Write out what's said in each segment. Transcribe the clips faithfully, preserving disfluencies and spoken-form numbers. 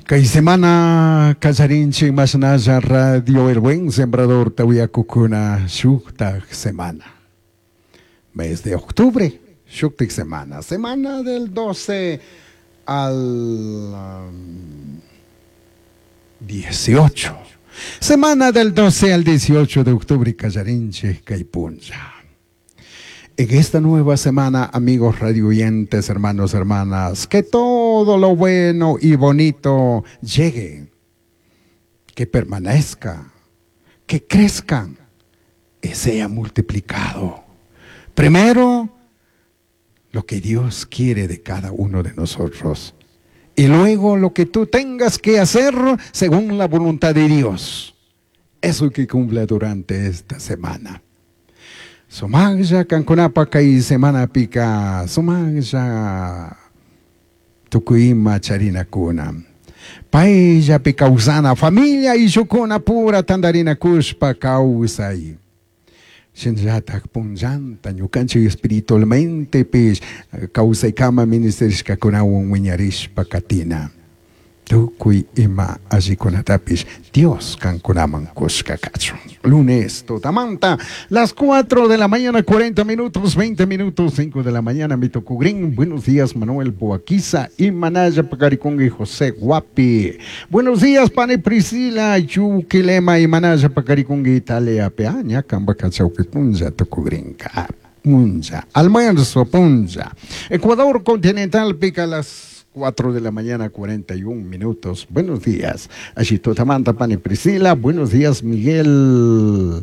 Kay semana kallarinchik mashnalla Radio El Buen Sembrador tawiyakukuna shuktak semana. Mes de octubre, shuktak semana. Semana del doce al um, dieciocho. Semana del doce al dieciocho de octubre, kallarinchik kay punlla. En esta nueva semana, amigos radioyentes, hermanos, hermanas, que todo lo bueno y bonito llegue, que permanezca, que crezca y sea multiplicado. Primero, lo que Dios quiere de cada uno de nosotros. Y luego lo que tú tengas que hacer según la voluntad de Dios. Eso que cumple durante esta semana. Sumaqlla kankunapaq kay semanapika, sumaqlla tukuy ima charinakuna. Payllapi kawsana, familia ayllukuna pura tantarinakushpa kawsay. Shinallatak punllanta ñukanchik espiritualmente pish kawsaykama ministerishkakunawan wiñarishpa katina. Tukuy ima allikunatapish Dios kankunaman kushka kachun. Lunes tutamanta, las cuatro de la mañana, cuarenta minutos, veinte minutos, cinco de la mañana, mi tocugrín. Buenos días, Manuel Boaquiza y Manaya Pacaricunga y José Guapi. Buenos días, Pane Priscila, Yuquilema y Manaya Pacaricunga Italia, Peaña, Cambaca, Chauquipunza, Tocugrinca, Punza, almuerzo, Punza. Ecuador continental pica las cuatro de la mañana, cuarenta y un minutos. Buenos días. Allí Totamanta, Pani Priscila. Buenos días, Miguel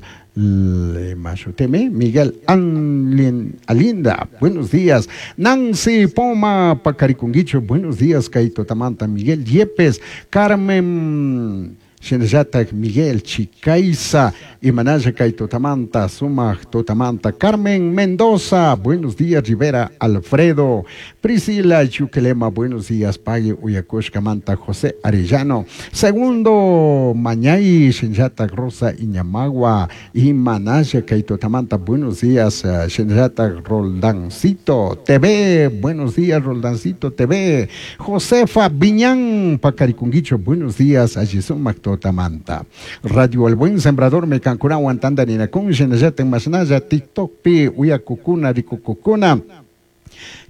Mashuteme, Miguel Anlin, Alinda. Buenos días. Nancy Poma, Pacaricunguicho. Buenos días, Kaito Tamanta, Miguel Yepes, Carmen Shinallatak, Miguel Chicaiza, Imanaya Kaito Tamanta, Sumaj Totamanta, Carmen Mendoza, buenos días, Rivera Alfredo, Priscila Chuquelema, buenos días, Pague Uyacushka Manta, José Arellano, Segundo Mañay, Shinallatak, Rosa Iñamagua, Imanaya Kaito Tamanta, buenos días, Shinallatak, Roldancito T V, buenos días, Roldancito T V, Josefa Viñán, Pacaricunguicho, buenos días, allí Sumac Totamanta. Radio El Buen Sembrador, me cancurawan tanda ninakun, shinallata masnalla, TikTok pi, uyakukuna, rikukukuna.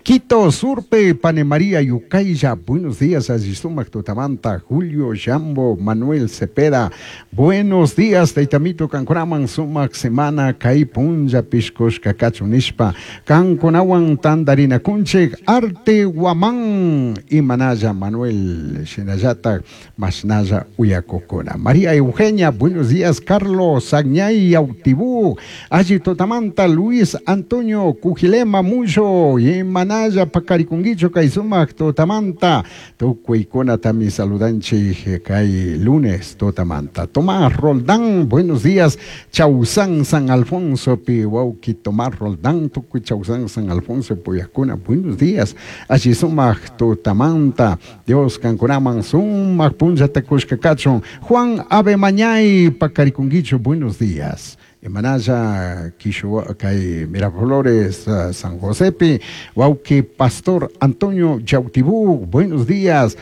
Quito, Surpe, Pane María, Yucaya, buenos días, Azizumac, Totamanta, Julio, Jambo, Manuel Cepeda, buenos días, Taitamito, Cancuraman, Sumac, Semana, Kai, Punja, Piscos, Cacacho, Nishpa, Cancunawan, Tandarina, Kunchek, Arte, Guamán, y Manaya, Manuel, Shinayata, Masnaya, Uyacocona. María Eugenia, buenos días, Carlos, Agñay, Autibú, Allí Totamanta, Luis Antonio, Cujilema, Mucho, y Manaya, Naya, Pacaricunguicho, Kaisumac, Totamanta, Tucuicona, también saludanchi, Kai, lunes, Totamanta. Tomás Roldán, buenos días, Chausán, San Alfonso, Pihuauqui, Tomás Roldán, Tucui, Chausán, San Alfonso, Puyacuna, buenos días, Achisumac, Totamanta, Dios, Cancunaman, Sumac, Punja, Tecushcacachon, Juan Ave Mañay, Pacaricunguicho, buenos días. Manaya, Quixua, Kay, Miraflores, uh, San Josepe, Huauqui, Pastor Antonio Yautibú, buenos días.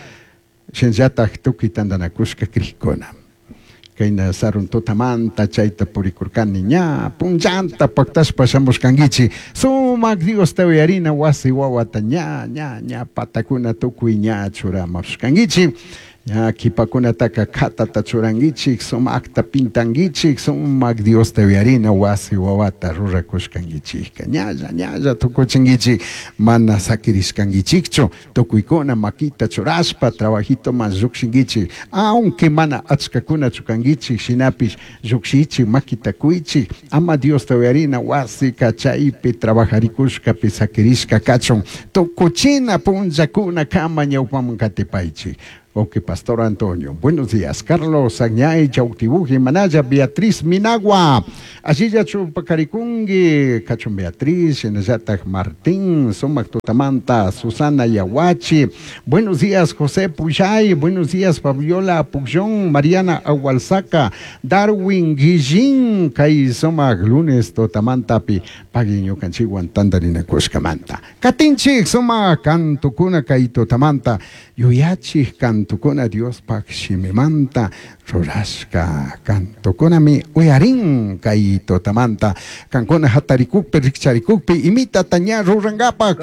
Shenyatak tuki tandanakushka krikona. Kayna sarun totamanta, chayta purikurkani ña, punllanta paktashpa shamushkankichi. Sumak Dios te uyarina wasi wawata ña, ña, ña, patakuna tukuy ña churamashkankichi. Ya, kipakunataka katata churankichik, sumakta pintankichik, sumak Dios te uyarina wasi wawata rurakushkankichikka. Ñalla, ñalla tukuchinkichik, mana sakirishkankichikchu, tukuykuna makita churashpa, trabajito mas llukshinkichik, aunque mana achkakuna chukankichik, shinapish llukshichik, makita kuychik, ama Dios te uyarina wasi kachaypi trabajarikushkapi sakirishka kachun, tukuchina punllakuna kama ñawpaman katipaychik. Ok, Pastor Antonio. Buenos días. Carlos Añay, Chautibuji, Manaya, Beatriz Minagua. Allí ya Chupacaricungui, Cachun Beatriz, Shenayata Martín, Sumac Tutamanta, Susana Yahuachi. Buenos días, José Puyay. Buenos días, Fabiola Puyón, Mariana Agualzaca, Darwin Guillín, Kai Sumac, lunes Totamantapi, Paguiño Canchiguan, Tandarina Cushcamanta. Katinchik, Sumac, Cantucuna, Kai Totamanta, Yuyachi, Cantu. Cantocuna Diospaj shimimanta rurashca cantocunami uyarin kay tutamanta. Kankuna hatarikukpi rikcharikukpi imitata ña rurankapa.